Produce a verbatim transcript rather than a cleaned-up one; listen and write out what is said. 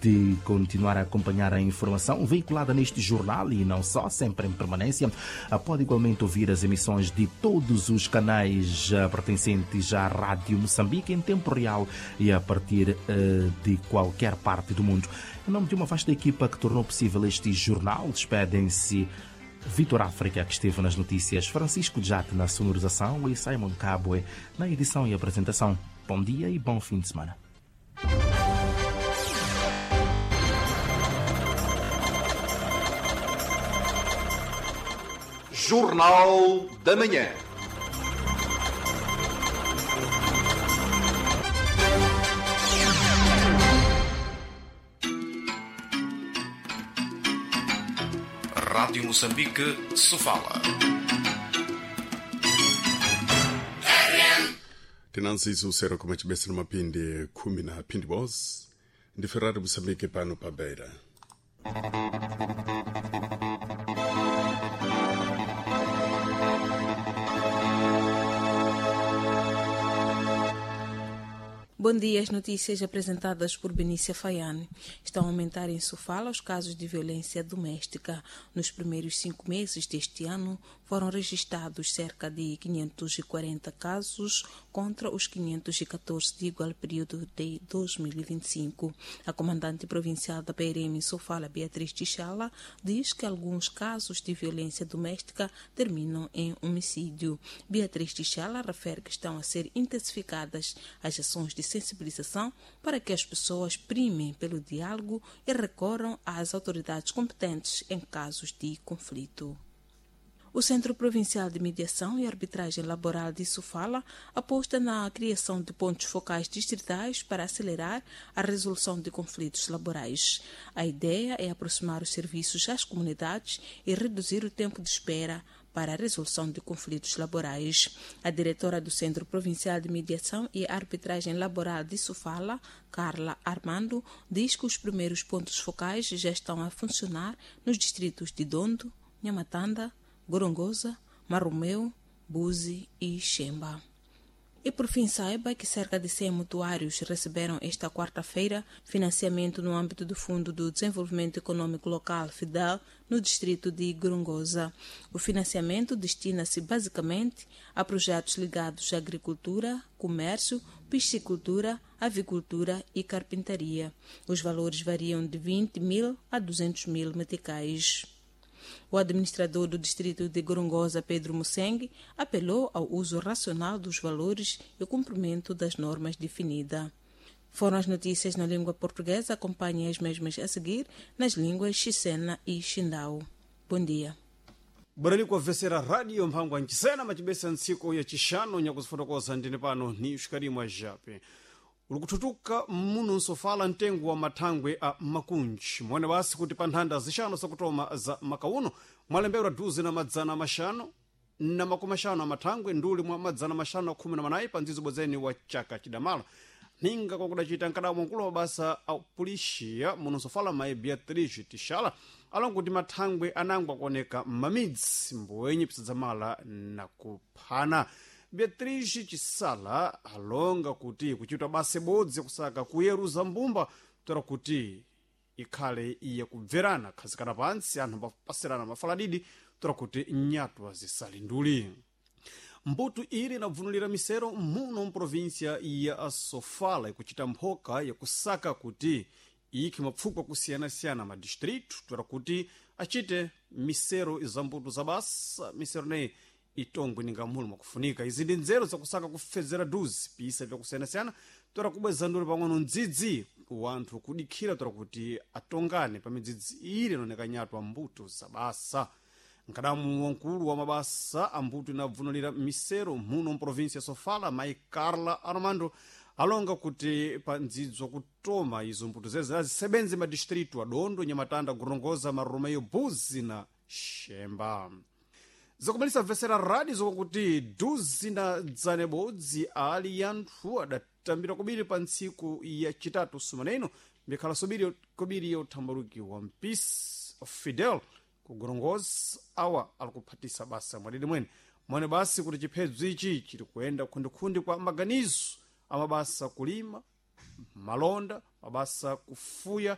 de continuar a acompanhar a informação veiculada neste jornal e não só, sempre em permanência. Pode igualmente ouvir as emissões de todos os canais pertencentes à Rádio Moçambique em tempo real e a partir de qualquer parte do mundo. Em nome de uma vasta equipa que tornou possível este jornal, despedem-se Vitor África, que esteve nas notícias, Francisco Jate na sonorização e Simon Cabwe na edição e apresentação. Bom dia e bom fim de semana. Jornal da Manhã. Rádio Moçambique, Sofala. Tinanzizo sero kumachibesa na mapindi khumi na phindi bos ndi Ferrari Moçambique pano pa Beira. Bom dia. As notícias apresentadas por Benícia Faiane. Estão a aumentar em Sofala os casos de violência doméstica. Nos primeiros cinco meses deste ano foram registrados cerca de quinhentos e quarenta casos contra os quinhentos e quatorze de igual período de dois mil e vinte e cinco. A comandante provincial da P R M em Sofala, Beatriz Tchala, diz que alguns casos de violência doméstica terminam em homicídio. Beatriz Tchala refere que estão a ser intensificadas as ações de sensibilização para que as pessoas primem pelo diálogo e recorram às autoridades competentes em casos de conflito. O Centro Provincial de Mediação e Arbitragem Laboral de Sofala aposta na criação de pontos focais distritais para acelerar a resolução de conflitos laborais. A ideia é aproximar os serviços às comunidades e reduzir o tempo de espera para a resolução de conflitos laborais. A diretora do Centro Provincial de Mediação e Arbitragem Laboral de Sofala, Carla Armando, diz que os primeiros pontos focais já estão a funcionar nos distritos de Dondo, Nhamatanda, Gorongosa, Marromeu, Buzi e Xemba. E por fim, saiba que cerca de cem mutuários receberam esta quarta-feira financiamento no âmbito do Fundo do Desenvolvimento Econômico Local, FIDEL, no distrito de Gorongosa. O financiamento destina-se basicamente a projetos ligados à agricultura, comércio, piscicultura, avicultura e carpintaria. Os valores variam de vinte mil a duzentos mil meticais. O administrador do distrito de Gorongosa, Pedro Museng, apelou ao uso racional dos valores e o cumprimento das normas definidas. Foram as notícias na língua portuguesa. Acompanhem as mesmas a seguir nas línguas Xisena e Xindau. Bom dia. Baralikwa vesera radio mphangwa nchisena machibesa ntsiku ya chixano nyakuzifotokoza ndine pano ni xikalimwa jape ulikuthuthuka muno nsofala mtengo wa mathangwe a makunji mwene basi kuti pa nthanda zixano zakutoma za makauno mwalembedwa duzi na madzana maxanu na makumi axanu a mathangwe nduli mwa madzana maxanu a khumi na manayi pa ndzidzo bwedzeni wa chaka chidamala ninga kwakudacita nkadamwa mkulu wa mabasa a pulixiya muno nsofala mayi Beatriz Tixala alonga kuti mathangwe anangwa kuoneka m'mamidzi mbowenye pisadzamala na kuphana. Beatriz Chisala alonga kuti kuchitwa basa ibodzi kusaka kuyeruza mbumba toera kuti ikhale iye kubverana khazikana pantsi anthu ambapasirana mafaladidi toera kuti nyatwa zisali nduli. Mbuto ili inabvunulira misero muno mprovinsia ya Sofala ikuchita mphoka yakusaka kuti ikhe mapfukwa kusiyana-siyana madistritu toera kuti achite misero za mbuto za basa misero neyi itongwe ninga mulu mwakufunika. Izi ndi nzeru zakusaka kufedzera duzi pisa vyakusiyana-siyana toera kubweza nduli pang'ono mdzidzi wanthu kudikhira toera kuti atongane pa midzidzi ili inaoneka nyatwa mbuto za basa. Nkadamu wamkulu wa mabasa ambuto inabvunulira misero muno mprovinsia ya Sofala mayi Carla Armando alonga kuti pa ndzidzo kutoma izo mbuto zeze azisebenze madistritu a Dondo, Nhamatanda, Gorongosa, Marromeu, Buzi na Xemba. Zakumalisa vesera radio zokuti duzi na dzana ibodzi ali anthu adatambira kobiri pa ntsiku ya chitatu sumaneno mbikhala sobiri kobiri yothambalukiwa mpisi Fidel ku Gorongosa awa ali kuphatisa basa mwadidi mwene mwene basi kuti chiphedzo ichi chiri kuyenda khundikhundi kwa maganizo amabasa kulima malonda mabasa kufuya